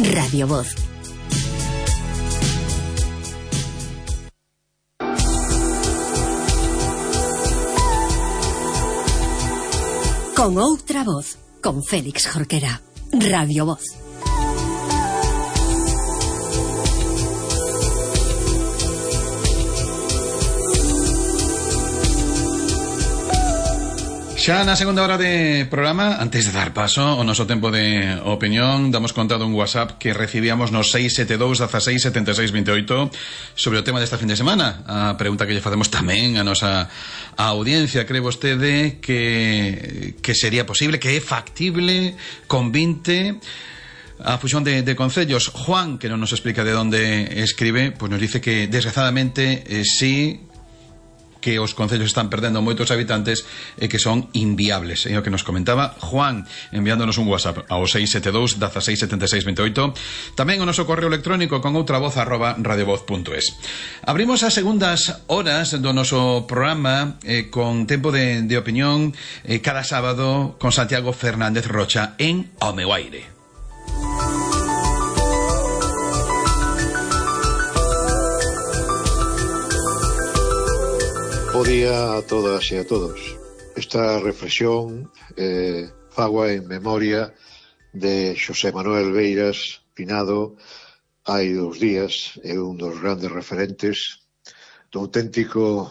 Radio Voz. Con outra voz, con Félix Jorquera. Radio Voz. Xa na segunda hora de programa, antes de dar paso ao noso tempo de opinión, damos conta dun WhatsApp que recibíamos no 672 16 76 28 sobre o tema desta fin de semana. A pregunta que lle facemos tamén a nosa audiencia: cree vostede que sería posible, que é factible con 20 a fusión de concellos? Juan, que non nos explica de onde escribe, pues nos dice que desgraciadamente sí, que os concellos están perdendo moitos habitantes e que son inviables. É o que nos comentaba Juan, enviándonos un WhatsApp ao 672 16 76 28. Tamén o noso correo electrónico con outra voz @radiovoz.es. Abrimos as segundas horas do noso programa con tempo de opinión cada sábado con Santiago Fernández Rocha en O Meu Aire. Bo día a todas e a todos. Esta reflexión fagoa en memoria de Xosé Manuel Beiras, finado hai 2 días, é un dos grandes referentes do auténtico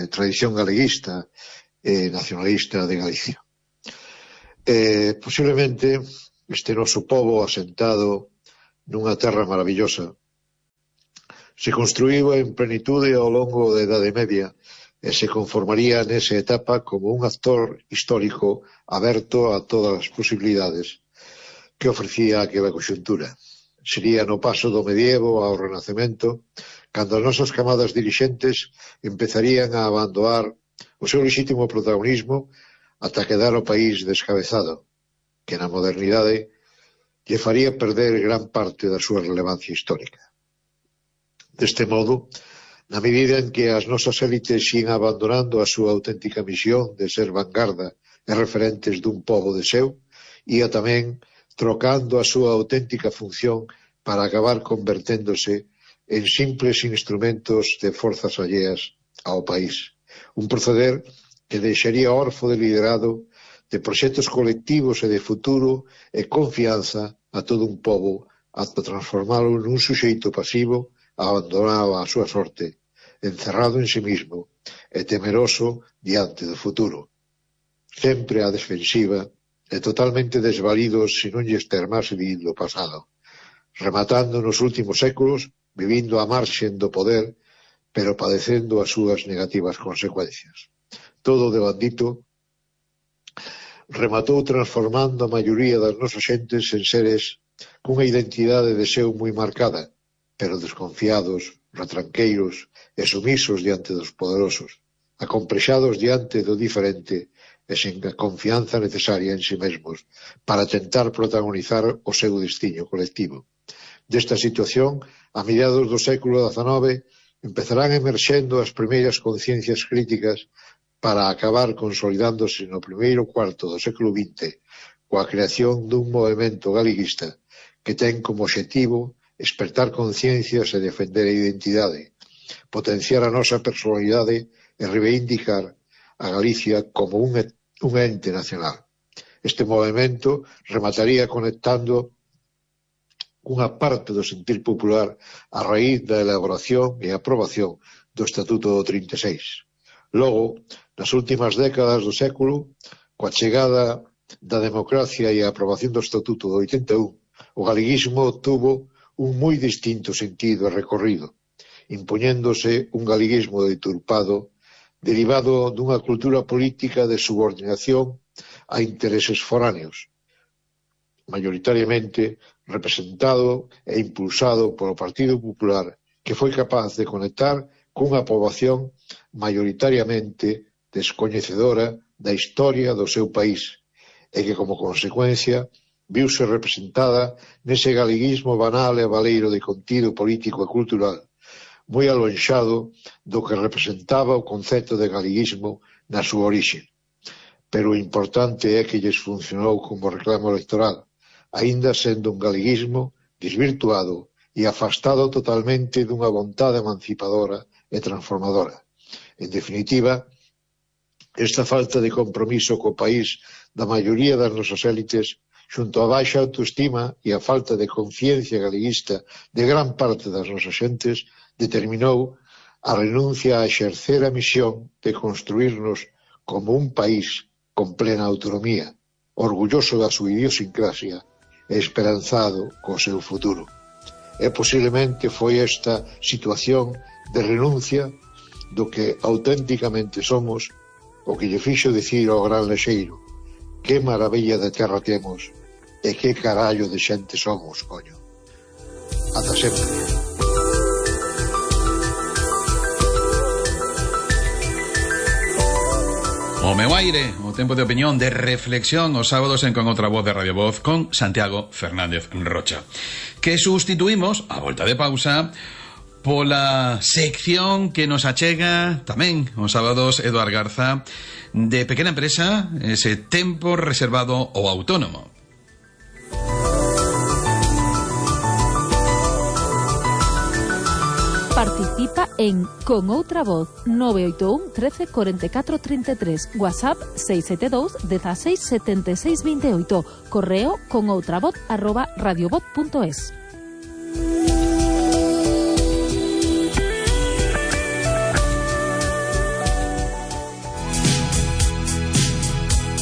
tradición galeguista e nacionalista de Galicia. Posiblemente este noso pobo asentado nunha terra maravillosa se construíu en plenitude ao longo da Idade Media e se conformaría nesa etapa como un actor histórico aberto a todas as posibilidades que ofrecía aquela conxuntura. Sería no paso do medievo ao Renacemento cando as nosas camadas dirixentes empezarían a abandonar o seu lexítimo protagonismo ata quedar o país descabezado, que na modernidade lle faría perder gran parte da súa relevancia histórica. Deste modo, na medida en que as nosas élites xían abandonando a súa auténtica misión de ser vanguarda e referentes dun pobo de seu, ia tamén trocando a súa auténtica función para acabar converténdose en simples instrumentos de forzas alleas ao país. Un proceder que deixaría orfo de liderado, de proxectos colectivos e de futuro e confianza a todo un pobo ata transformalo nun suxeito pasivo abandonado a súa sorte, encerrado en sí mismo e temeroso diante do futuro, sempre á defensiva e totalmente desvalidos se non lle extermase do pasado, rematando nos últimos séculos, vivindo a marxen do poder, pero padecendo as súas negativas consecuencias. Todo devandito rematou transformando a maioría das nosas xentes en seres cunha identidade de seu moi marcada, pero desconfiados, retranqueiros e sumisos diante dos poderosos, acomplexados diante do diferente e sen a confianza necesaria en si mesmos para tentar protagonizar o seu destiño colectivo. Desta situación, a mediados do século XIX, empezarán emerxendo as primeiras conciencias críticas para acabar consolidándose no primeiro cuarto do século XX coa creación dun movemento galeguista que ten como obxectivo despertar conciencias e defender a identidade, potenciar a nosa personalidade e reivindicar a Galicia como un ente nacional. Este movimento remataría conectando unha parte do sentir popular a raíz da elaboración e aprobación do Estatuto do 36. Logo, nas últimas décadas do século, coa chegada da democracia e a aprobación do Estatuto do 81, o galeguismo tuvo un moi distinto sentido e recorrido, impoñéndose un galeguismo deturpado derivado dunha cultura política de subordinación a intereses foráneos, maioritariamente representado e impulsado polo Partido Popular, que foi capaz de conectar cunha poboación maioritariamente descoñecedora da historia do seu país e que, como consecuencia, viuse representada nese galeguismo banal e baleiro de contido político e cultural, moi alonxado do que representaba o concepto de galeguismo na súa orixe. Pero o importante é que lles funcionou como reclamo electoral, aínda sendo un galeguismo desvirtuado e afastado totalmente dunha vontade emancipadora e transformadora. En definitiva, esta falta de compromiso co país da maioría das nosas élites, xunto á baixa autoestima e a falta de conciencia galeguista de gran parte das nosas xentes, determinou a renuncia a exercer a misión de construirnos como un país con plena autonomía, orgulloso da súa idiosincrasia e esperanzado co seu futuro. E posiblemente foi esta situación de renuncia do que auténticamente somos o que lle fixo dicir ao gran lexeiro: que maravilla de terra temos e que carallo de xente somos, coño. Ata sempre. O meu aire, o tempo de opinión, de reflexión os sábados en Con Outra Voz de Radio Voz con Santiago Fernández Rocha, que sustituímos, a volta de pausa, pola sección que nos achega tamén os sábados Eduard Garza, de Pequena Empresa, ese tempo reservado ao autónomo. Participa en Con Outra Voz 981 13 44 33, WhatsApp 672 16 76 28, correo conoutravoz@radiovoz.es.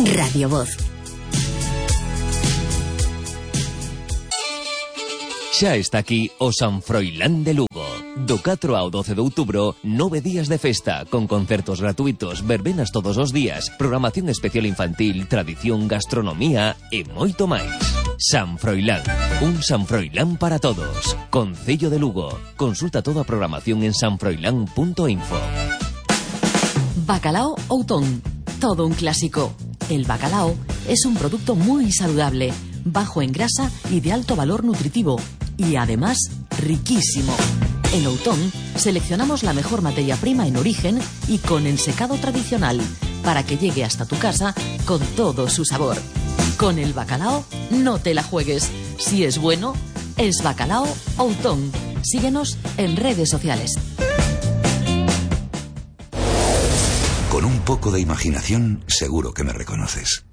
Radio Voz. Xa está aquí o San Froilán de Lugo. Do 4 ao 12 de outubro, 9 días de festa, con concertos gratuitos, verbenas todos os días, programación especial infantil, tradición, gastronomía e moito máis. San Froilán, un San Froilán para todos. Concello de Lugo. Consulta toda a programación en sanfroilán.info. Bacalao Outón, todo un clásico. El bacalao es un producto muy saludable, bajo en grasa y de alto valor nutritivo, y además riquísimo. En Outón seleccionamos la mejor materia prima en origen y con ensecado tradicional, para que llegue hasta tu casa con todo su sabor. Con el bacalao no te la juegues. Si es bueno, es Bacalao Outón. Síguenos en redes sociales. Con un poco de imaginación, seguro que me reconoces.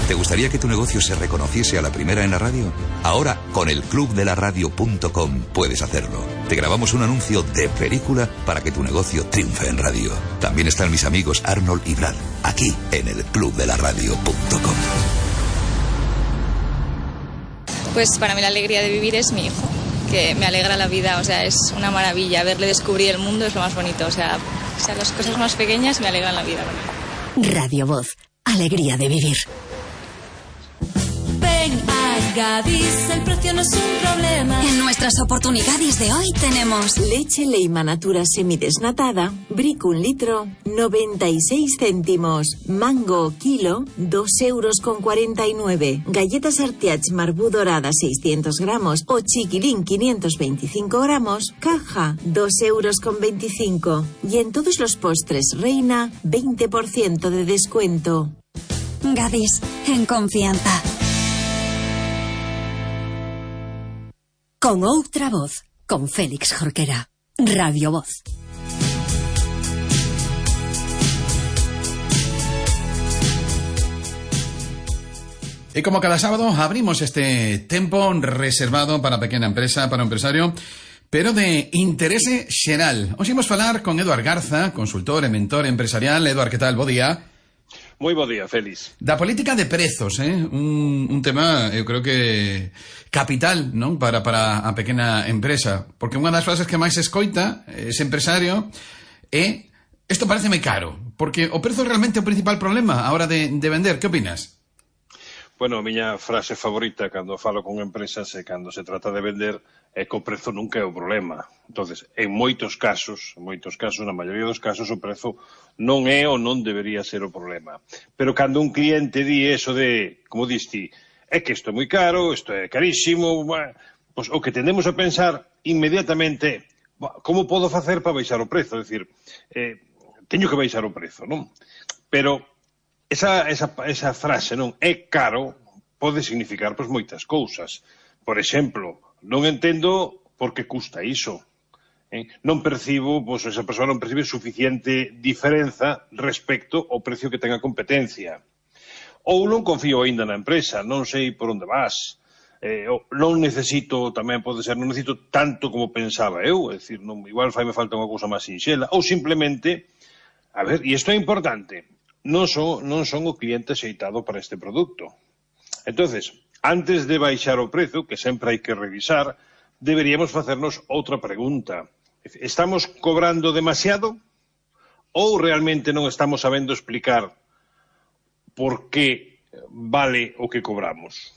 ¿Te gustaría que tu negocio se reconociese a la primera en la radio? Ahora, con el clubdelaradio.com puedes hacerlo. Te grabamos un anuncio de película para que tu negocio triunfe en radio. También están mis amigos Arnold y Brad, aquí en el clubdelaradio.com. Pues para mí la alegría de vivir es mi hijo, que me alegra la vida, o sea, es una maravilla. Verle descubrir el mundo es lo más bonito, o sea, las cosas más pequeñas me alegran la vida. Radio Voz, alegría de vivir. Ven a Gadis, el precio no es un problema. En nuestras oportunidades de hoy tenemos leche Leima Natura semidesnatada, brick 1 litro, 96 céntimos, mango kilo, 2,49 €, galletas Artiach Marbú dorada 600 gramos o chiquilín 525 gramos, caja 2,25 €. Y en todos los postres Reina, 20% de descuento. Gadis, en confianza. Con Outra Voz, con Félix Jorquera. Radio Voz. Y como cada sábado abrimos este tempo reservado para pequena empresa, para o empresario, pero de interese xeral. Hoxe imos falar con Eduard Garza, consultor e mentor empresarial. Eduard, que tal? Bo día. Moi bo día, Félix. Da política de prezos, un tema, eu creo que capital, non? Para a pequena empresa. Porque unha das frases que máis escoita ese empresario é: isto pareceme caro, porque o prezo é realmente o principal problema a hora de vender. Que opinas? Bueno, a miña frase favorita cando falo con empresas e cando se trata de vender é que o prezo nunca é o problema. Entonces, en moitos casos, na maioría dos casos, o prezo non é ou non debería ser o problema. Pero cando un cliente di eso de, como diste, é que isto é moi caro, isto é carísimo, pois o que tendemos a pensar inmediatamente, como podo facer para baixar o prezo? É dicir, teño que baixar o prezo, non? Pero esa frase, non, é caro, pode significar pois moitas cousas. Por exemplo, non entendo por que custa iso. Non percibo, pois esa persoa non percibe suficiente diferenza respecto ao precio que ten a competencia. Ou non confío aínda na empresa, non sei por onde vas. Non necesito, tamén pode ser, non necesito tanto como pensaba eu, é dicir, igual faime falta unha cousa máis sinxela, ou simplemente, a ver, e isto é importante, non son o cliente axeitado para este produto. Entonces, antes de baixar o prezo, que sempre hai que revisar, deberíamos facernos outra pregunta. Estamos cobrando demasiado ou realmente non estamos sabendo explicar por que vale o que cobramos?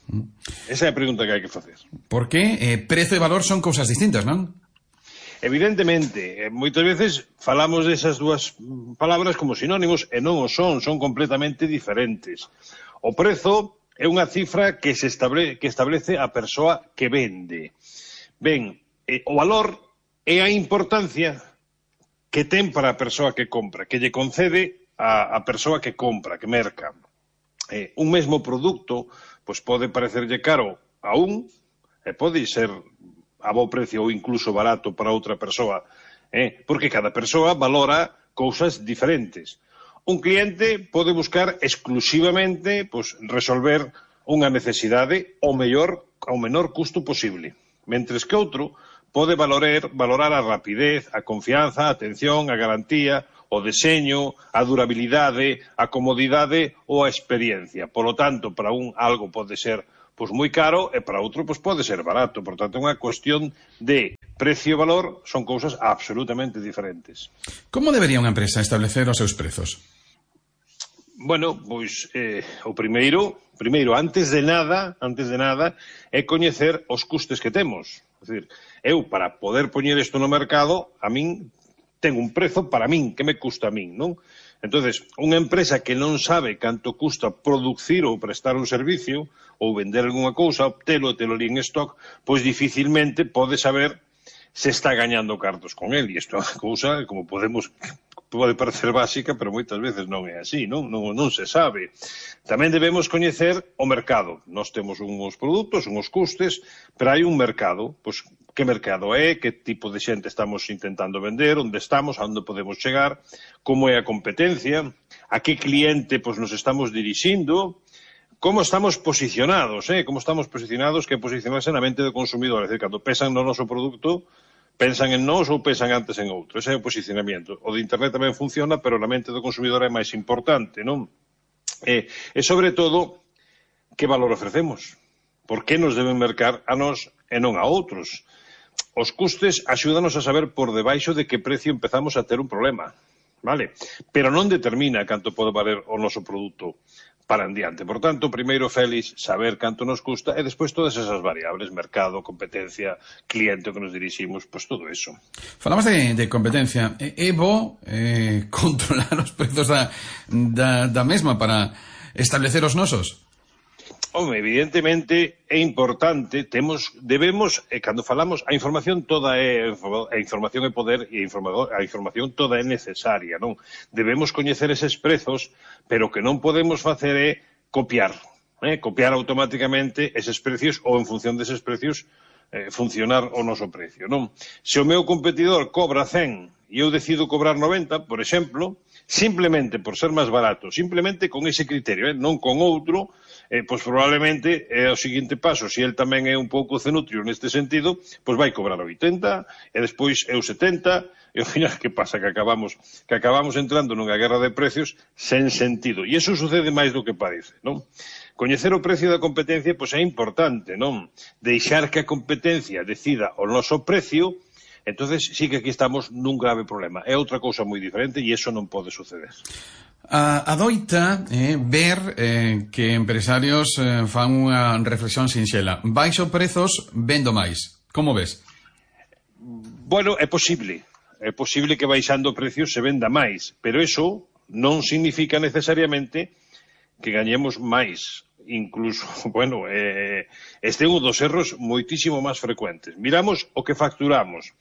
Esa é a pregunta que hai que facer. Por que? Prezo e valor son cousas distintas, non? Evidentemente, moitas veces falamos desas dúas palabras como sinónimos e non o son completamente diferentes. O prezo é unha cifra que establece a persoa que vende. Ben, o valor é a importancia que ten para a persoa que compra, que lle concede a persoa que compra, que merca. Un mesmo produto pois pode parecerlle caro a un e pode ser a bo precio ou incluso barato para outra persoa, porque cada persoa valora cousas diferentes. Un cliente pode buscar exclusivamente pois, resolver unha necesidade ao menor custo posible, mentres que outro pode valorar a rapidez, a confianza, a atención, a garantía, o deseño, a durabilidade, a comodidade ou a experiencia. Por lo tanto, para un algo pode ser pois moi caro e para outro pois pode ser barato. Por tanto, é unha cuestión de precio e valor, son cousas absolutamente diferentes. Como debería unha empresa establecer os seus prezos? Bueno, pois o primeiro, antes de nada, é coñecer os custes que temos. É dicir, eu, para poder poñer isto no mercado, a min ten un prezo para min, que me custa a min, non? Entonces, unha empresa que non sabe canto custa producir ou prestar un servicio, ou vender algunha cousa, obtelo e telo ali en stock, pois dificilmente pode saber se está gañando cartos con el. E isto é unha cousa, como pode parecer básica, pero moitas veces non é así, non se sabe. Tamén debemos coñecer o mercado. Nós temos uns produtos, uns custes, pero hai un mercado, pois que mercado é, que tipo de xente estamos intentando vender, onde estamos, a onde podemos chegar, como é a competencia, a que cliente pois nos estamos dirixindo, como estamos posicionados, que posicionarse na mente do consumidor, é dicir, cando pensan no noso produto, pensan en nós ou pensan antes en outro. Ese é o posicionamento. O de internet tamén funciona, pero na mente do consumidor é máis importante, non? E sobre todo, que valor ofrecemos? Por que nos deben mercar a nós e non a outros? Os custes axúdanos a saber por debaixo de que precio empezamos a ter un problema, vale? Pero non determina canto pode valer o noso produto para en diante. Por tanto, primeiro, Félix, saber canto nos custa e despois todas esas variables, mercado, competencia, cliente que nos diriximos, pois todo eso. Falamos de competencia. É bo controlar os prezos da mesma para establecer os nosos? Home, evidentemente é importante, debemos, cando falamos, a información toda a información é poder e a información toda é necesaria, non? Debemos coñecer eses prezos, pero que non podemos facer é copiar automáticamente eses precios ou en función deses precios funcionar o noso precio, non? Se o meu competidor cobra 100 e eu decido cobrar 90, por exemplo, simplemente por ser máis barato, simplemente con ese criterio, non con outro, pois probablemente é o seguinte paso, se el tamén é un pouco cenutrio neste sentido, pois vai cobrar 80 e despois eu 70 e ao final que pasa? Que acabamos entrando nunha guerra de precios sen sentido, e iso sucede máis do que parece, non? Coñecer o precio da competencia pois é importante, non? Deixar que a competencia decida o noso precio. Entonces sí que aquí estamos nun grave problema. É outra cousa moi diferente e iso non pode suceder. Adoita ver que empresarios fan unha reflexión sinxela. Baixo prezos, vendo máis. Como ves? Bueno, é posible. É posible que baixando precios se venda máis, pero iso non significa necesariamente que gañemos máis. Incluso, bueno, este é un dos erros moitísimo máis frecuentes. Miramos o que facturamos,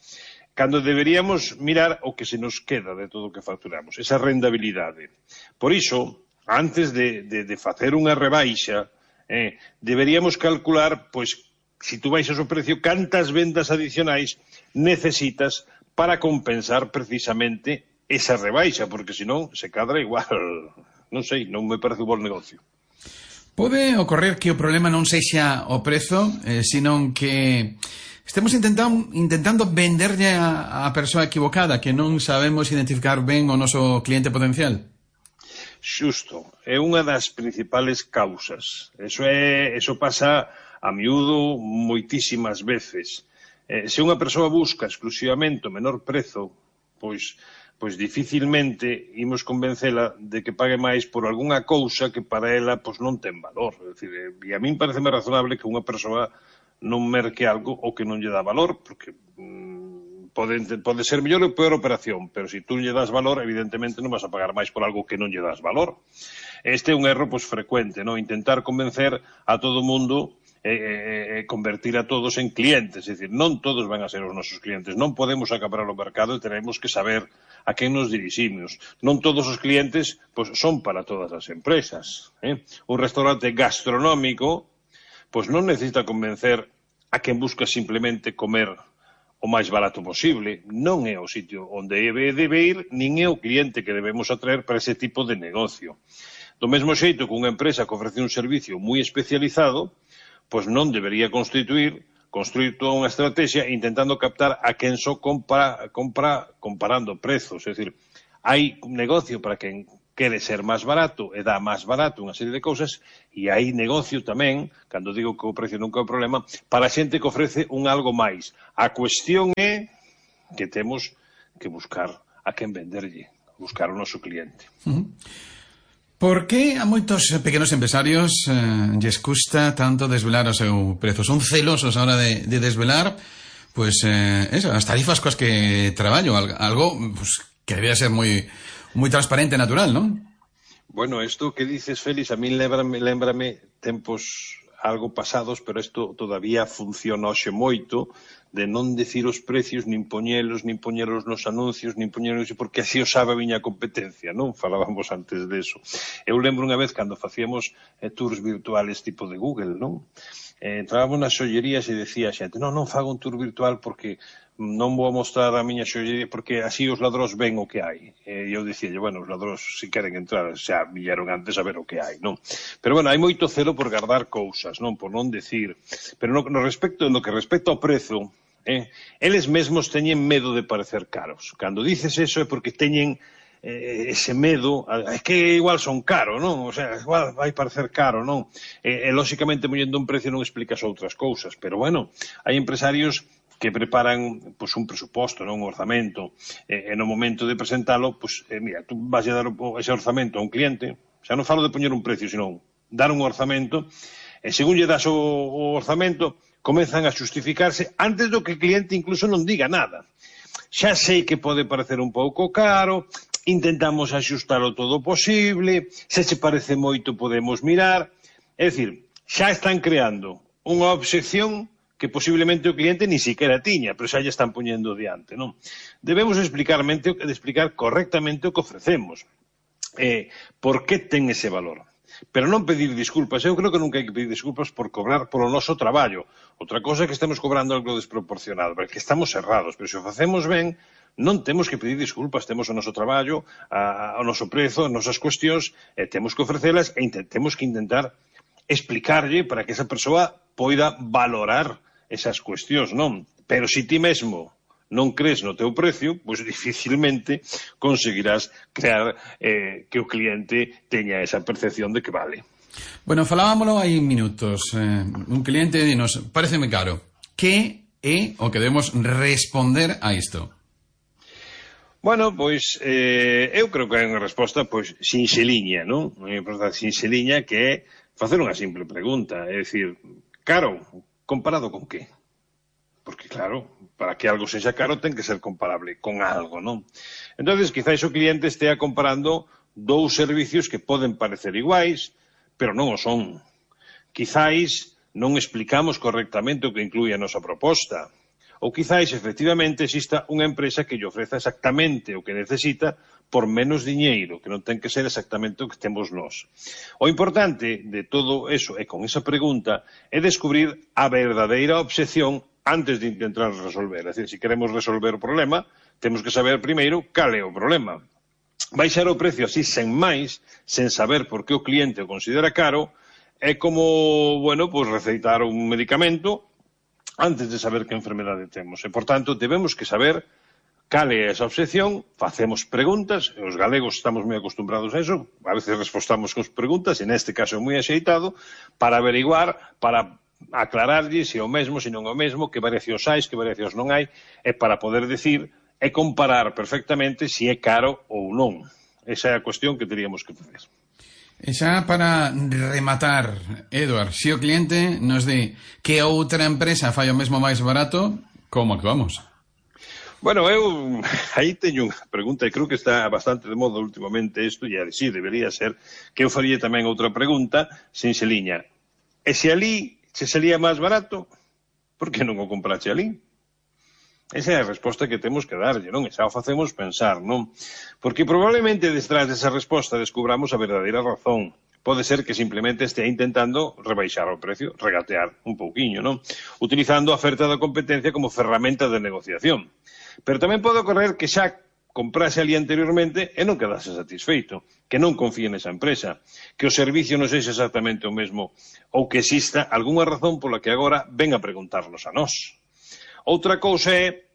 cando deberíamos mirar o que se nos queda de todo o que facturamos, esa rentabilidade. Por iso, antes de facer unha rebaixa, Deberíamos calcular, pois, se tú baixas o precio, cantas vendas adicionais necesitas para compensar precisamente esa rebaixa, porque senón se cadra igual, non sei, non me parece un bon negocio. Pode ocorrer que o problema non sexa o prezo, senón que estemos intentando venderlle a persoa equivocada, que non sabemos identificar ben o noso cliente potencial. Xusto, é unha das principales causas. Eso pasa a miúdo moitísimas veces. Se unha persoa busca exclusivamente o menor prezo, pois dificilmente imos convencela de que pague máis por algunha cousa que para ela pois non ten valor. É dicir, e a min pareceme razonable que unha persoa non merque algo o que non lle dá valor, porque pode ser mellor ou peor operación, pero se tú lle das valor, evidentemente non vas a pagar máis por algo que non lle das valor. Este é un erro frecuente, non? Intentar convencer a todo o mundo convertir a todos en clientes, é dicir, non todos van a ser os nosos clientes, non podemos acaparar o mercado e tenemos que saber a quen nos diriximos. Non todos os clientes son para todas as empresas. Un restaurante gastronómico non necesita convencer a quen busca simplemente comer o máis barato posible. Non é o sitio onde debe ir, nin é o cliente que debemos atraer para ese tipo de negocio. Do mesmo xeito que unha empresa que ofrece un servicio moi especializado, pois non debería construir toda unha estrategia intentando captar a quen só compra comparando prezos. É dicir, hai un negocio para quen quere ser máis barato e dá máis barato unha serie de cousas, e hai negocio tamén, cando digo que o precio nunca é o problema, para a xente que ofrece un algo máis. A cuestión é que temos que buscar a quen venderlle, buscar o noso cliente. Por que a moitos pequenos empresarios lles custa tanto desvelar o seu prezo? Son celosos a hora de desvelar as tarifas coas que traballo, algo que debía ser moi transparente e natural, non? Bueno, isto que dices, Félix, a mí lémbrame tempos algo pasados, pero isto todavía funciona hoxe moito, de non decir os precios, nin poñelos nos anuncios, nin poñelos, porque así o sabe a miña competencia, non? Falábamos antes deso. Eu lembro unha vez cando facíamos tours virtuales tipo de Google, non? Entrábamos nas xollerías e decía a xente, non fago un tour virtual porque non vou mostrar a miña xollería porque así os ladróns ven o que hai. E eu dicíalle, bueno, os ladróns se queren entrar xa vieron antes a ver o que hai, non? Pero bueno, hai moito celo por guardar cousas, non? Por non decir. Pero no que respecta ao prezo, eles mesmos teñen medo de parecer caros. Cando dices eso é porque teñen ese medo, é que igual son caro, non? O sea, igual vai parecer caro, non? E lóxicamente, mollendo un precio non explicas outras cousas, pero bueno, hai empresarios que preparan un presuposto, un orzamento, e no momento de presentalo, mira, tú vas a dar ese orzamento a un cliente, xa non falo de poñer un precio, sino dar un orzamento, e según lle das o orzamento, comezan a xustificarse antes do que o cliente incluso non diga nada. Xa sei que pode parecer un pouco caro, intentamos axustalo todo posible, se che parece moito podemos mirar, é dicir, xa están creando unha obxección que posiblemente o cliente ni siquiera tiña, pero xa lle están poñendo diante, non? Debemos explicar correctamente o que ofrecemos. Por que ten ese valor? Pero non pedir disculpas. Eu creo que nunca hai que pedir disculpas por cobrar polo noso traballo. Outra cosa é que estemos cobrando algo desproporcionado, porque estamos errados, pero se o facemos ben, non temos que pedir disculpas, temos o noso traballo, o noso prezo, as nosas cuestións, e temos que ofrecelas e temos que intentar explicarlle para que esa persoa poida valorar esas cuestións, non? Pero se ti mesmo non crees no teu precio, pois dificilmente conseguirás crear que o cliente teña esa percepción de que vale. Bueno, falábamolo hai minutos. Un cliente dinos, pareceme caro. Que é o que debemos responder a isto? Bueno, pois, eu creo que hai unha resposta, sinxeliña, non? Unha resposta sinxeliña que é facer unha simple pregunta, é dicir, caro, comparado con que? Porque, claro, para que algo sexa caro ten que ser comparable con algo, non? Entonces, quizáis o cliente estea comparando dous servicios que poden parecer iguais, pero non o son. Quizáis non explicamos correctamente o que inclúe a nosa proposta. Ou quizáis, efectivamente, exista unha empresa que lle ofreza exactamente o que necesita por menos diñeiro, que non ten que ser exactamente o que temos nós. O importante de todo eso, e con esa pregunta, é descubrir a verdadeira obxección antes de intentar resolver. É dicir, se queremos resolver o problema, temos que saber primeiro cal é o problema. Baixar o precio así sen máis, sen saber por que o cliente o considera caro, é como, bueno, pues receitar un medicamento antes de saber que enfermedade temos. E, por tanto, debemos que saber cal é esa obsesión, facemos preguntas, e os galegos estamos moi acostumbrados a eso, a veces respostamos con preguntas, e neste caso é moi axeitado, para averiguar, para aclararlle se é o mesmo, se non é o mesmo, que variacións hai, que variacións non hai, e para poder decir e comparar perfectamente se é caro ou non. Esa é a cuestión que teríamos que facer. E xa para rematar, Eduard, se o cliente nos di que outra empresa fai o mesmo máis barato, como actuamos? Bueno, eu aí teño unha pregunta e creo que está bastante de moda últimamente isto, e así debería ser, que eu faría tamén outra pregunta sin se liña. E se ali se salía máis barato, por que non o comprache ali? Esa é a resposta que temos que darlle, non? E xa o facemos pensar, non? Porque probablemente detrás desa resposta descubramos a verdadeira razón. Pode ser que simplemente estea intentando rebaixar o precio, regatear un pouquiño, non? Utilizando a oferta da competencia como ferramenta de negociación. Pero tamén pode ocorrer que xa comprase ali anteriormente e non quedase satisfeito, que non confíe nesa empresa, que o servicio non sexa exactamente o mesmo, ou que exista algunha razón pola que agora ven a preguntarnos a nós. Outra cousa é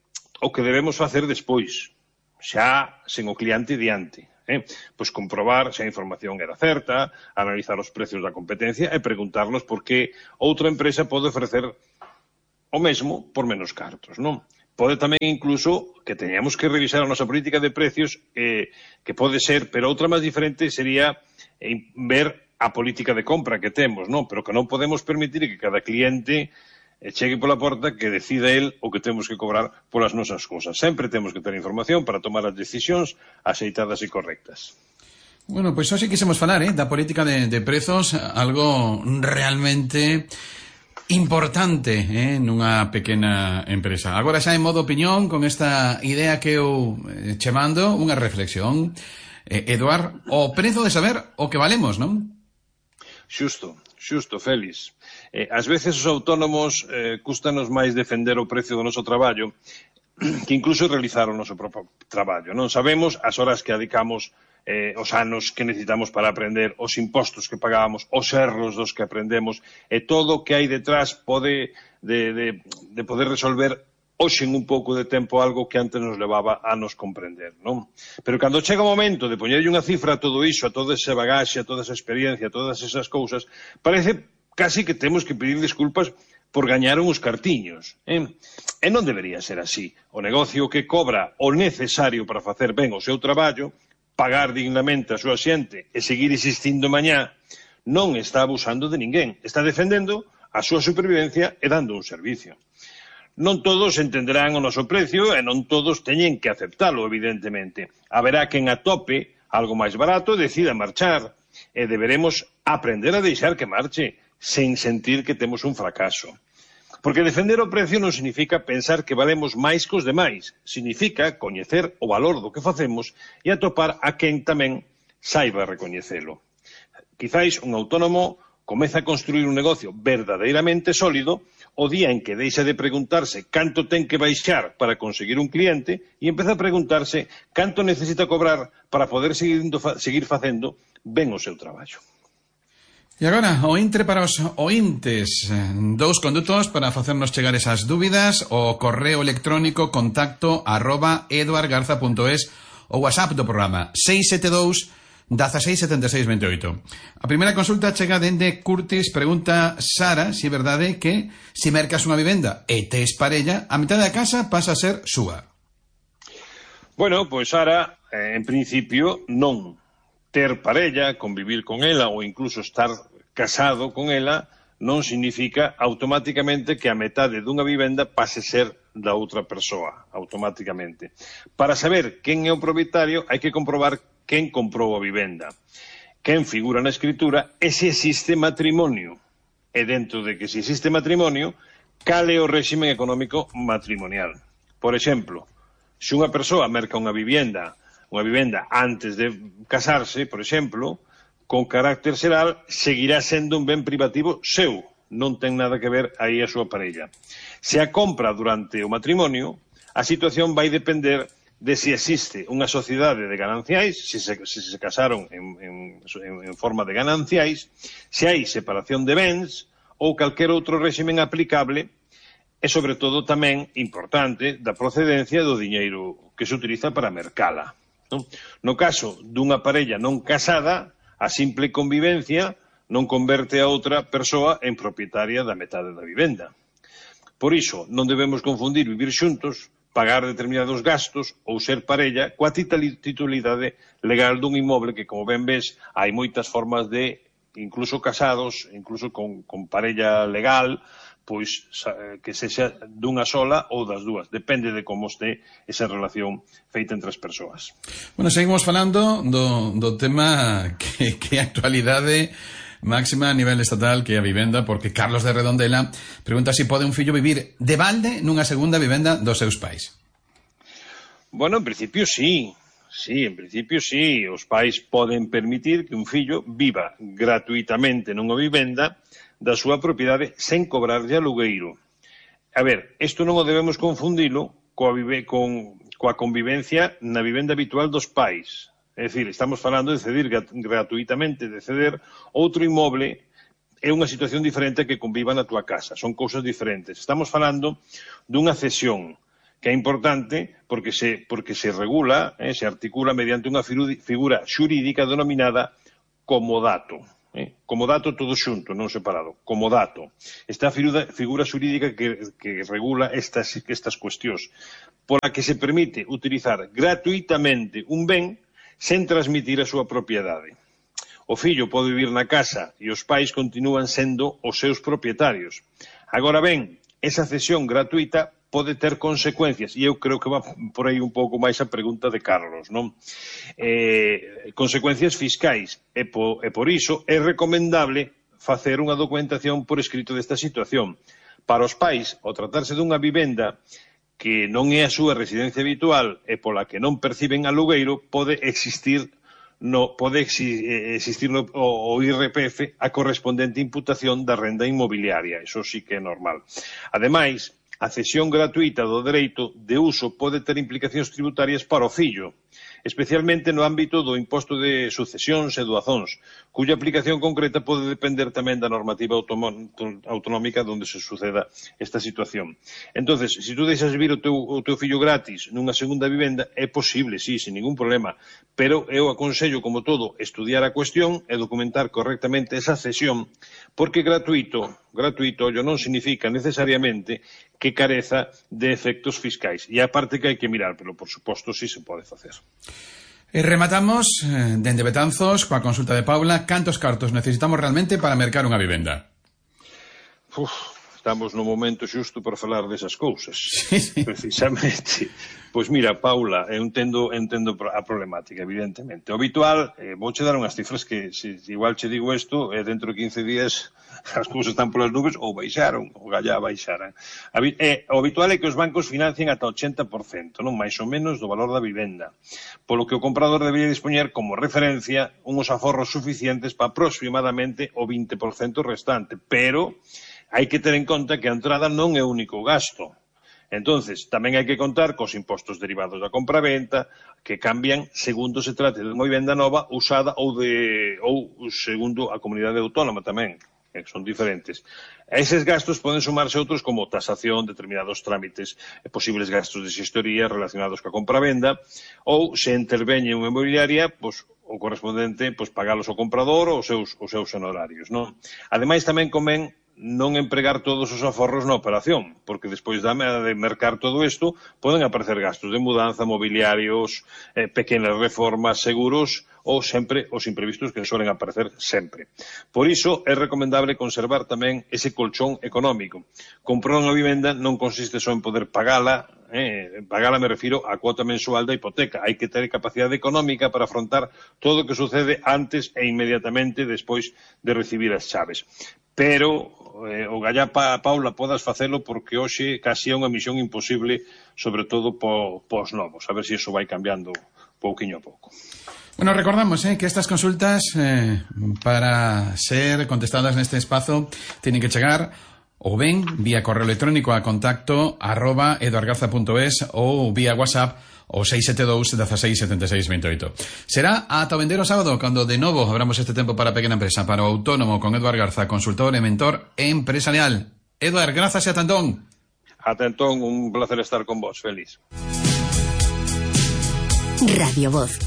o que debemos facer despois, xa sen o cliente diante. Pois comprobar se a información era certa, analizar os precios da competencia e preguntarnos por que outra empresa pode ofrecer o mesmo por menos cartos, non? Pode tamén incluso que teñamos que revisar a nosa política de precios, que pode ser, pero outra máis diferente sería ver a política de compra que temos, non? Pero que non podemos permitir que cada cliente chegue pola porta que decida el o que temos que cobrar polas nosas cousas. Sempre temos que ter información para tomar as decisións axeitadas e correctas. Bueno, pois hoxe quisemos falar da política de prezos, algo realmente importante nunha pequena empresa. Agora xa en modo opinión, con esta idea que eu che mando, unha reflexión. Eduard, o prezo de saber o que valemos, non? Xusto, Félix. Ás veces os autónomos custanos máis defender o precio do noso traballo que incluso realizar o noso propio traballo. Non sabemos as horas que dedicamos, os anos que necesitamos para aprender, os impostos que pagamos, os erros dos que aprendemos, e todo o que hai detrás pode de poder resolver hoxe en un pouco de tempo algo que antes nos levaba a nos comprender, non? Pero cando chega o momento de poñerlle unha cifra a todo iso, a toda esa bagaxe, a toda esa experiencia, a todas esas cousas, parece casi que temos que pedir desculpas por gañar uns cartiños. E non debería ser así. O negocio que cobra o necesario para facer ben o seu traballo, pagar dignamente a súa xente e seguir existindo mañá, non está abusando de ninguén. Está defendendo a súa supervivencia e dando un servicio. Non todos entenderán o noso precio e non todos teñen que aceptalo, evidentemente. Haberá quen atope algo máis barato e decida marchar, e deberemos aprender a deixar que marche, sen sentir que temos un fracaso. Porque defender o precio non significa pensar que valemos máis que os demais, significa coñecer o valor do que facemos e atopar a quen tamén saiba recoñecelo. Quizáis un autónomo comeza a construir un negocio verdadeiramente sólido o día en que deixa de preguntarse canto ten que baixar para conseguir un cliente e empeza a preguntarse canto necesita cobrar para poder seguir facendo ben o seu traballo. E agora, o intre para os ointes. Dous condutos para facernos chegar esas dúbidas: o correo electrónico contacto@eduardgarza.es, o WhatsApp do programa 672 167628. A primeira consulta chega dende Curtis. Pregunta Sara se é verdade que se mercas unha vivenda e tes parella, a mitad da casa pasa a ser súa. Bueno, pois Sara, en principio non. Ter parella, convivir con ela ou incluso estar casado con ela non significa automáticamente que a metade dunha vivenda pase ser da outra persoa, automáticamente. Para saber quen é o propietario hai que comprobar quen comprou a vivenda, quen figura na escritura e se existe matrimonio. E dentro de que se existe matrimonio, cal é o réxime económico matrimonial. Por exemplo, se unha persoa merca unha vivenda antes de casarse, por exemplo, con carácter xeral, seguirá sendo un ben privativo seu, non ten nada que ver aí a súa parella. Se a compra durante o matrimonio, a situación vai depender de se existe unha sociedade de gananciais, se se casaron en forma de gananciais, se hai separación de bens ou calquer outro réximen aplicable e, sobre todo, tamén importante da procedencia do diñeiro que se utiliza para mercala. No caso dunha parella non casada, a simple convivencia non converte a outra persoa en propietaria da metade da vivenda. Por iso, non debemos confundir vivir xuntos, pagar determinados gastos ou ser parella coa titularidade legal dun inmoble que, como ben ves, hai moitas formas de, incluso casados, incluso con parella legal, pois que sexa dunha sola ou das dúas. Depende de como este esa relación feita entre as persoas. Bueno, seguimos falando do tema que é actualidade máxima a nivel estatal, que é a vivenda, porque Carlos de Redondela pregunta se pode un fillo vivir de balde nunha segunda vivenda dos seus pais. Bueno, en principio sí. Sí, en principio sí. Os pais poden permitir que un fillo viva gratuitamente nunha vivenda da súa propiedade sen cobrarlle alugueiro. A ver, isto non o debemos confundilo coa convivencia na vivenda habitual dos pais. É dicir, estamos falando de cedir gratuitamente, de ceder outro inmoble, é unha situación diferente que conviva na túa casa, son cousas diferentes. Estamos falando dunha cesión, que é importante porque se regula, se articula mediante unha figura xurídica denominada comodato. Comodato todo xunto, non separado. Comodato. Esta figura xurídica que regula estas cuestións, pola que se permite utilizar gratuitamente un ben sen transmitir a súa propiedade. O fillo pode vivir na casa e os pais continúan sendo os seus propietarios. Agora ben, esa cesión gratuita pode ter consecuencias, e eu creo que va por aí un pouco máis a pregunta de Carlos, non? Consecuencias fiscais, e por iso é recomendable facer unha documentación por escrito desta situación. Para os pais, ao tratarse dunha vivenda que non é a súa residencia habitual e pola que non perciben alugueiro, pode existir o IRPF a correspondente imputación da renda inmobiliaria. Iso sí que é normal. Ademais, a cesión gratuita do dereito de uso pode ter implicacións tributarias para o fillo, especialmente no ámbito do imposto de sucesións e doazóns, cuya aplicación concreta pode depender tamén da normativa autonómica onde se suceda esta situación. Entonces, se tú deixas vivir o teu fillo gratis nunha segunda vivenda, é posible, sí, sin ningún problema, pero eu aconsello, como todo, estudiar a cuestión e documentar correctamente esa cesión, porque gratuito non significa necesariamente que careza de efectos fiscais. E a parte que hai que mirar, pero por suposto sí se pode facer. E rematamos dende Betanzos coa consulta de Paula. Cantos cartos necesitamos realmente para mercar unha vivenda? Estamos no momento xusto para falar desas cousas. Sí. Precisamente. Pois mira, Paula, eu entendo a problemática, evidentemente. O habitual, vouche dar unhas cifras que, se igual che digo isto, dentro de 15 días as cousas están polas nubes ou baixaron, ou gallá baixaran. O habitual é que os bancos financien ata 80%, non máis ou menos, do valor da vivenda, polo que o comprador debería dispoñer como referencia unhos aforros suficientes para aproximadamente o 20% restante, pero hai que ter en conta que a entrada non é o único gasto. Entonces, tamén hai que contar cos impostos derivados da compraventa, que cambian segundo se trate de unha vivenda nova, usada ou segundo a comunidade autónoma tamén, que son diferentes. A eses gastos poden sumarse outros como tasación, determinados trámites, posibles gastos de xestoría relacionados coa compravenda, ou se interveñe unha inmobiliaria, o correspondente, pagalos ao comprador ou os seus honorarios, non? Ademais, tamén convén non empregar todos os aforros na operación, porque despois de mercar todo isto, poden aparecer gastos de mudanza, mobiliarios, pequenas reformas, seguros, ou sempre os imprevistos que suelen aparecer sempre. Por iso, é recomendable conservar tamén ese colchón económico. Comprar unha vivenda non consiste só en poder pagala Pagala me refiro á cuota mensual da hipoteca. Hai que ter capacidade económica para afrontar todo o que sucede antes e inmediatamente despois de recibir as chaves. Pero o gallá Paula podas facelo porque hoxe casi é unha misión imposible, sobre todo pos novos. A ver se iso vai cambiando pouquiño a pouco. Bueno, recordamos que estas consultas para ser contestadas neste espazo tienen que chegar ou ben vía correo electrónico a contacto @eduardgarza.es ou vía WhatsApp o 672 16 76 28. Será ata o vendeiro sábado cando de novo abramos este tempo para a pequena empresa, para o autónomo con Eduard Garza, consultor e mentor empresarial. Eduard, grazas e ata entón. Ata entón, un placer estar con vos, feliz. Radio Voz.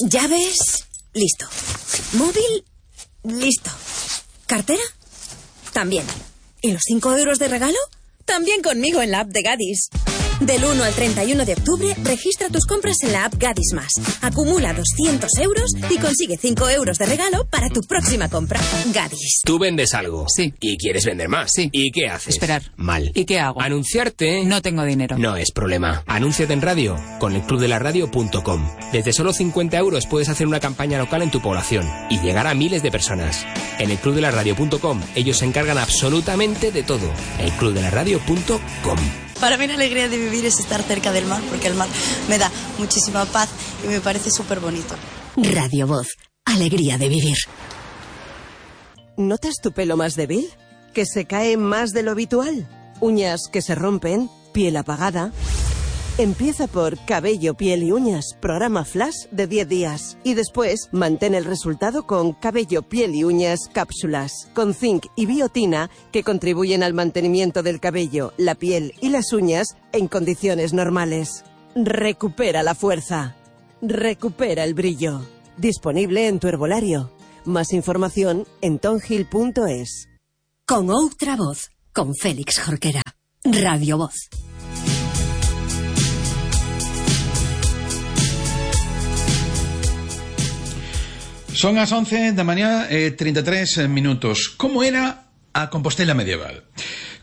Llaves, listo. Móvil, listo. ¿Cartera? También. ¿Y los 5 euros de regalo? También conmigo en la app de Gadis. Del 1 al 31 de octubre, registra tus compras en la app Gadis Más. Acumula 200 euros y consigue 5 euros de regalo para tu próxima compra. Gadis. Tú vendes algo. Sí. Y quieres vender más. Sí. ¿Y qué haces? Esperar. Mal. ¿Y qué hago? Anunciarte. No tengo dinero. No es problema. Anúnciate en radio con elclubdelaradio.com. Desde solo 50 euros puedes hacer una campaña local en tu población y llegar a miles de personas. En elclubdelaradio.com ellos se encargan absolutamente de todo. elclubdelaradio.com. Para mí la alegría de vivir es estar cerca del mar, porque el mar me da muchísima paz y me parece súper bonito. Radio Voz, alegría de vivir. ¿Notas tu pelo más débil? ¿Que se cae más de lo habitual? ¿Uñas que se rompen? ¿Piel apagada? Empieza por Cabello, Piel y Uñas, programa flash de 10 días. Y después, mantén el resultado con Cabello, Piel y Uñas cápsulas, con zinc y biotina que contribuyen al mantenimiento del cabello, la piel y las uñas en condiciones normales. Recupera la fuerza. Recupera el brillo. Disponible en tu herbolario. Más información en tonhill.es. Con outra voz, con Félix Jorquera. Radio Voz. Son as 11 da mañá e 33 minutos. Como era a Compostela medieval?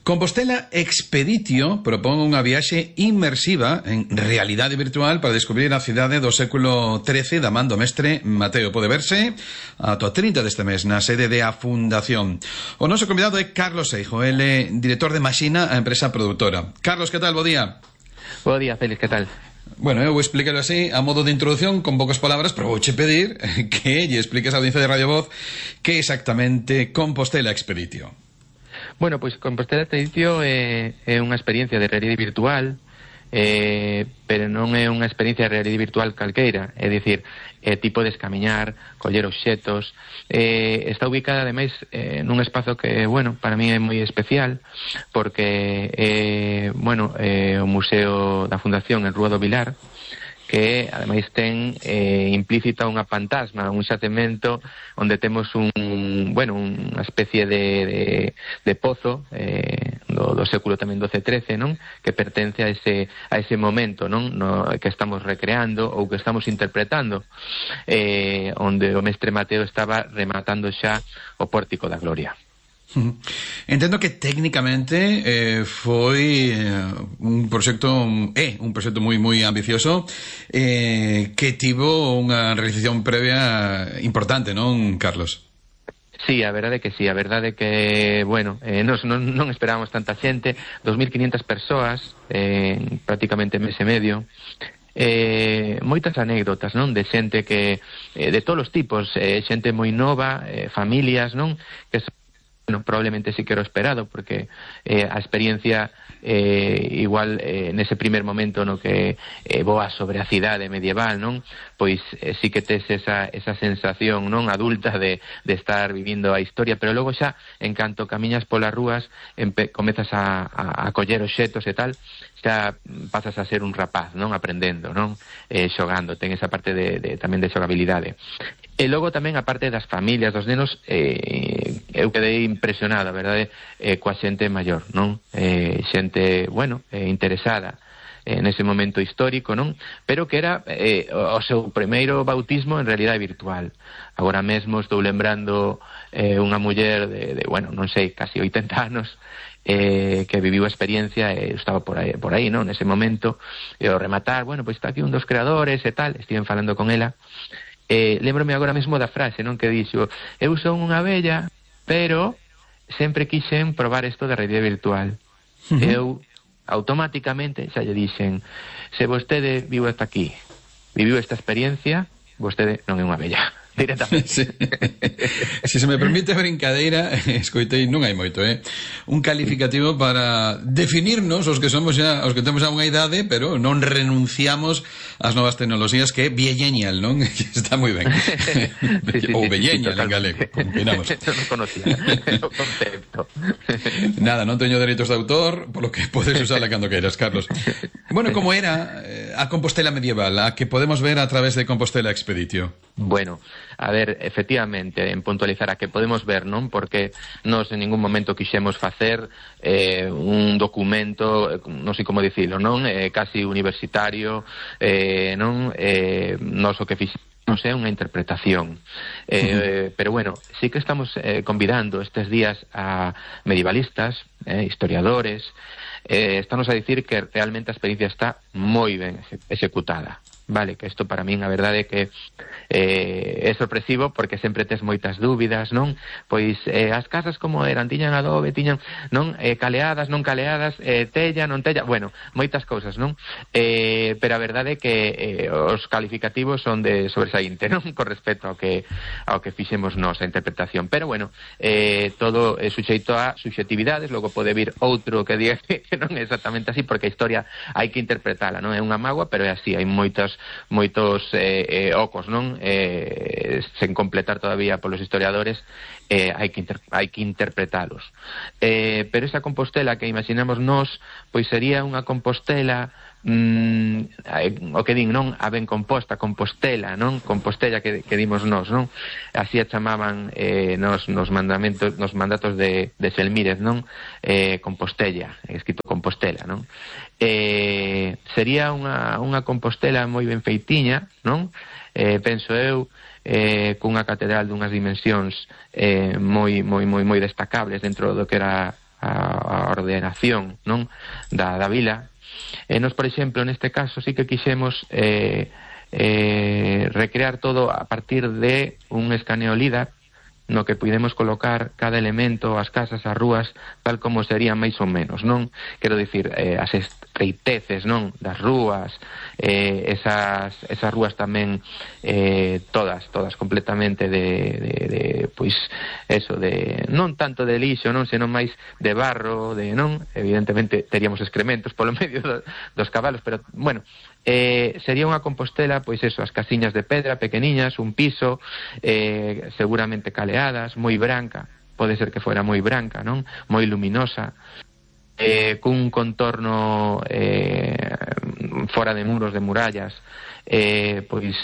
Compostela Expeditio propón unha viaxe inmersiva en realidade virtual para descubrir a cidade do século XIII da man do mestre Mateo. Pode verse ata o 30 deste mes na sede de a Fundación. O noso convidado é Carlos Seijo, ele director de Maxina, a empresa produtora. Carlos, que tal? Bo día. Bo día, Félix, que tal? Bueno, eu vou explicarlo así, a modo de introducción, con poucas palabras, pero vouche pedir que lle expliques a audiencia de Radio Voz que exactamente Compostela Expeditio. Bueno, pois Compostela Expeditio é unha experiencia de realidade virtual, pero non é unha experiencia de realidade virtual calqueira, é dicir, tipo de escamiñar, coller obxetos, está ubicada ademais nun espazo que, bueno, para mí é moi especial, porque o Museo da Fundación en Rúa do Vilar, que ademais ten implícita unha fantasma, un xacemento onde temos unha especie de pozo do século tamén XII, non? Que pertence a ese momento, non? Que estamos recreando ou que estamos interpretando, onde o mestre Mateo estaba rematando xa o Pórtico da Gloria. Entendo que técnicamente foi un proxecto moi ambicioso, que tivo unha realización previa importante, non, Carlos? Sí, a verdade que sí, a verdade que, nos non esperábamos tanta xente, 2.500 persoas, prácticamente mes e medio, moitas anécdotas, non, de xente que, de todos os tipos, xente moi nova, familias, non, que probablemente sí que era esperado, porque a experiencia igual nese primer momento no que voa sobre a cidade medieval, non? Pois sí que tes esa sensación, non, adulta de estar vivindo a historia, pero logo xa, en canto camiñas polas rúas, comezas a coller obxetos e tal, xa pasas a ser un rapaz, non, aprendendo, non, xogando, ten esa parte tamén de xogabilidade. E logo tamén a parte das familias, dos nenos, eu quedei impresionado, a verdade, coa xente maior, non? Xente, interesada nese momento histórico, non? Pero que era o seu primeiro bautismo en realidade virtual. Agora mesmo estou lembrando unha muller de non sei, casi 80 anos, que viviu a experiencia e estaba por aí, non? Nese momento, e ao rematar, bueno, pois está aquí un dos creadores e tal, estiven falando con ela, lembrome agora mesmo da frase, non? Que dixo, eu son unha abella, pero sempre quixen probar isto de realidade virtual. Eu automáticamente xa lle dixen, se vostede viu hasta aquí, viviu esta experiencia, vostede non é unha abella. Directamente. Sí. Se se me permite a brincadeira, escoitei, non hai moito, un calificativo para definirnos os que somos xa, os que temos xa unha idade, pero non renunciamos ás novas tecnoloxías, que é vieñeñal, non? Está moi ben. Ou vieñeñal en galego, como queramos. Non conocía o concepto. Nada, non teño dereitos de autor, polo que podes usarla cando queiras, Carlos. Bueno, como era a Compostela medieval, a que podemos ver a través de Compostela Expeditio? Bueno, a ver, efectivamente, en puntualizar a que podemos ver, non? Porque nos en ningún momento quixemos facer un documento, non sei como dicilo, non? Casi universitario, non? Nos o que fixemos é unha interpretación. Pero bueno, sí que estamos convidando estes días a medievalistas, historiadores, estamos a dicir que realmente a experiencia está moi ben executada. Vale, que isto para min a verdade é que é sorpresivo, porque sempre tes moitas dúbidas, non? Pois as casas como eran, tiñan adobe, tiñan, non? Caleadas, non caleadas, tella, non tella, bueno, moitas cousas, non? Pero a verdade é que os calificativos son de sobresaínte, non? Con respecto ao que fixemos nós a interpretación, pero bueno, todo é suxeito a subxetividades, logo pode vir outro que diga que non é exactamente así, porque a historia hai que interpretala, non? É unha mágoa, pero é así, hai moitos ocos, non? Sen completar todavía polos historiadores, hai que interpretalos. Pero esa Compostela que imaginamos nós, pois sería unha Compostela o que din, non? A ben composta, Compostela, non? Compostela que dimos nós, non? Así a chamaban nos mandatos de Selmírez, non? Compostela, escrito Compostela, non? Sería unha Compostela moi ben feitiña, non? Penso eu, cunha catedral dunhas dimensións moi destacables dentro do que era a ordenación, non? Da vila. Nos, por exemplo, neste caso sí que quixemos recrear todo a partir de un escaneo LIDAR, no que podemos colocar cada elemento, as casas, as rúas, tal como serían máis ou menos, non? Quero dicir, as estreiteces, non? Das rúas, esas rúas tamén todas completamente de pois, eso, de non tanto de lixo, non? Senón máis de barro, non? Evidentemente teríamos excrementos polo medio dos cabalos, pero, bueno, sería unha Compostela, pois eso, as casiñas de pedra pequeniñas, un piso, seguramente caleadas, moi branca, pode ser que fuera moi branca, non? Moi luminosa, cun contorno fora de muros, de murallas, pois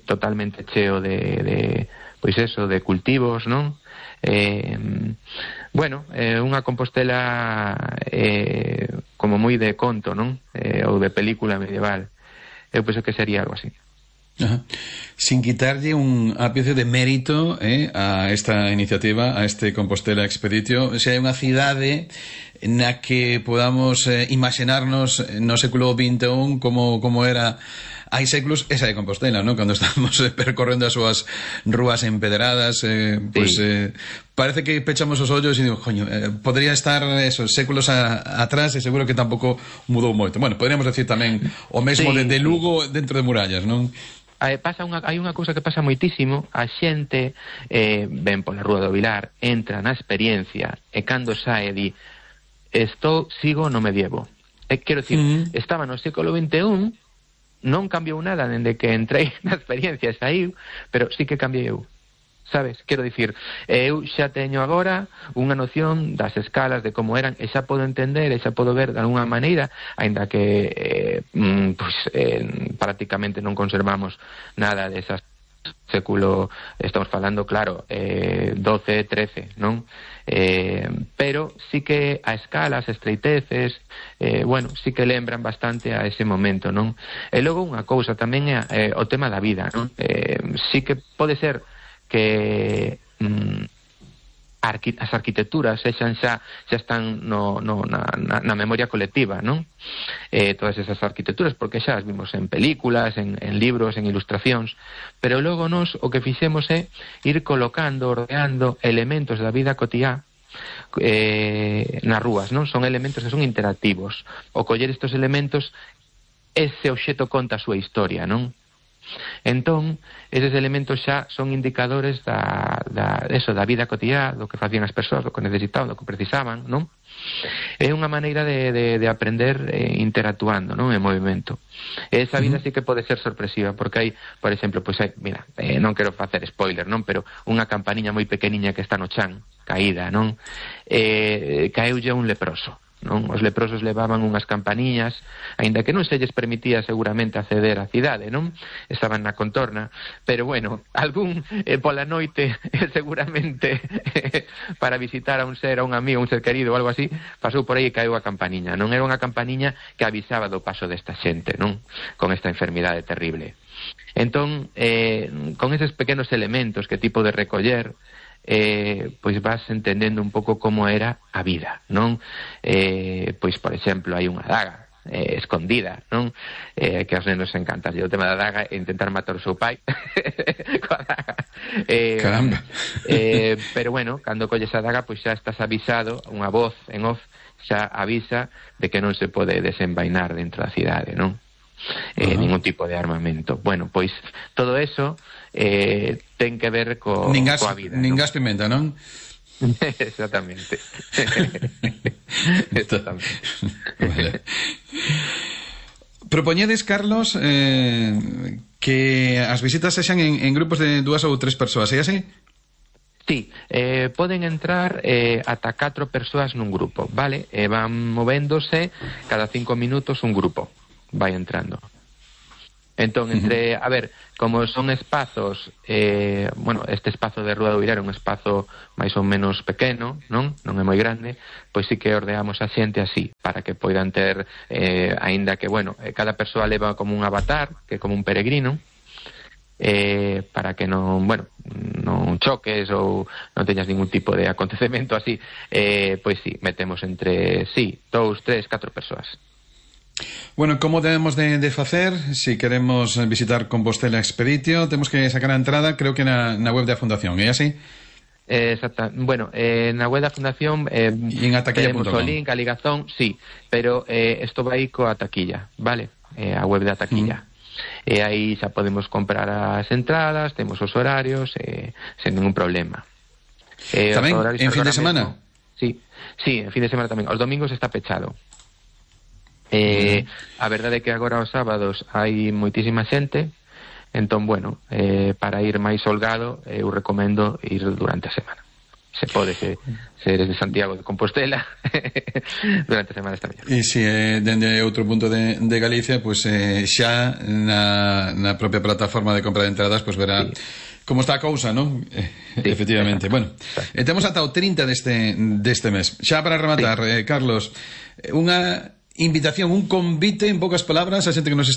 totalmente cheo de pois eso, de cultivos, non? Bueno, unha Compostela como moi de conto, non? Ou de película medieval. Eu penso que sería algo así. Ajá. Sin quitarlle un ápice de mérito a esta iniciativa, a este Compostela Expeditio, se hai unha cidade na que podamos imaginarnos no século XXI como era hai séculos esa de Compostela, ¿no? Cando estamos percorrendo as súas rúas empedradas, pues parece que pechamos os ollos e digo, coño, podría estar esos séculos atrás e seguro que tampouco mudou moito. Bueno, podríamos decir tamén o mesmo de Lugo dentro de murallas, non? Hai unha cousa que pasa moitísimo, a xente ven pola Rúa do Vilar, entra na experiencia e cando sae di sigo no medievo. Quero dicir, estaba no século XXI, non cambiou nada dende que entrei na experiencia e saíu, pero sí que cambiei eu, sabes? Quero dicir, eu xa teño agora unha noción das escalas, de como eran, e xa podo entender, e xa podo ver de alguna maneira, aínda que prácticamente non conservamos nada desas século, estamos falando, claro, 12, 13, non? Pero sí que a escala, as estreiteces, bueno, sí que lembran bastante a ese momento, non? E logo unha cousa tamén é o tema da vida, non? Sí que pode ser que a as arquitecturas xa están na memoria colectiva, non? Todas esas arquitecturas, porque xa as vimos en películas, en libros, en ilustracións, pero logo nos o que fixemos é ir colocando, ordeando elementos da vida cotiá nas rúas, non? Son elementos que son interactivos. O coller estes elementos, ese obxeto conta a súa historia, non? Entón, eses elementos xa son indicadores da vida cotiá, do que facían as persoas, do que necesitaban, do que precisaban, non? É unha maneira de aprender interactuando, non? En movimento. Esa vida sí que pode ser sorpresiva, porque hai, por exemplo, mira, non quero facer spoiler, non? Pero unha campaniña moi pequeniña que está no chan, caída, non? Caeulle un leproso, non? Os leprosos levaban unhas campaniñas, aínda que non se lles permitía seguramente acceder á cidade, non? Estaban na contorna, pero bueno, algún pola noite seguramente para visitar a un ser, a un amigo, un ser querido ou algo así, pasou por aí e caeu a campaniña, non? Era unha campaniña que avisaba do paso desta xente, non? Con esta enfermidade terrible. Entón, con eses pequenos elementos que tipo de recoller, pois vas entendendo un pouco como era a vida, non? Pois, por exemplo, hai unha daga escondida, non? Que aos nenos encanta o tema da daga e intentar matar o seu pai coa daga. Caramba. Pero bueno, cando colles a daga, pois xa estás avisado, unha voz en off xa avisa de que non se pode desenvainar dentro da cidade, non? Ningún tipo de armamento. Bueno, pois todo eso ten que ver coa vida. Nin gas pimenta, non? Exactamente. Exactamente. Vale. Propoñedes, Carlos, que as visitas sexan en grupos de 2 ou 3 persoas, é así? Sí, poden entrar ata 4 persoas nun grupo, vale? Van movéndose cada 5 minutos un grupo vai entrando. Entón, a ver, como son espazos, este espazo de Rúa do Vilar é un espazo máis ou menos pequeno, non é moi grande, pois sí que ordeamos a xente así, para que poidan ter, aínda que, cada persoa leva como un avatar, que é como un peregrino, para que non choques ou non teñas ningún tipo de acontecemento así, pois sí, metemos entre 2, 3, 4 persoas. Bueno, como debemos de facer se queremos visitar Compostela Expeditio? Temos que sacar a entrada, creo que na web da Fundación, é así? Exacto. Bueno, na web da Fundación tenemos o link, a ligazón, sí, pero isto vai coa taquilla, vale? A web da taquilla. E aí xa podemos comprar as entradas, temos os horarios, sen ningún problema. Tamén, en fin de semana? Sí, en fin de semana tamén. Os domingos está pechado. A verdade é que agora os sábados hai moitísima xente, entón, para ir máis holgado, eu recomendo ir durante a semana. Se pode ser de Santiago de Compostela, durante a semana está mellor. E se dende outro punto de Galicia, pois xa na propia plataforma de compra de entradas, pois verá como está a cousa, non? Sí, efectivamente. Bueno, temos ata o 30 deste mes. Xa para rematar, Carlos, unha invitación, un convite, en poucas palabras, a xente que nos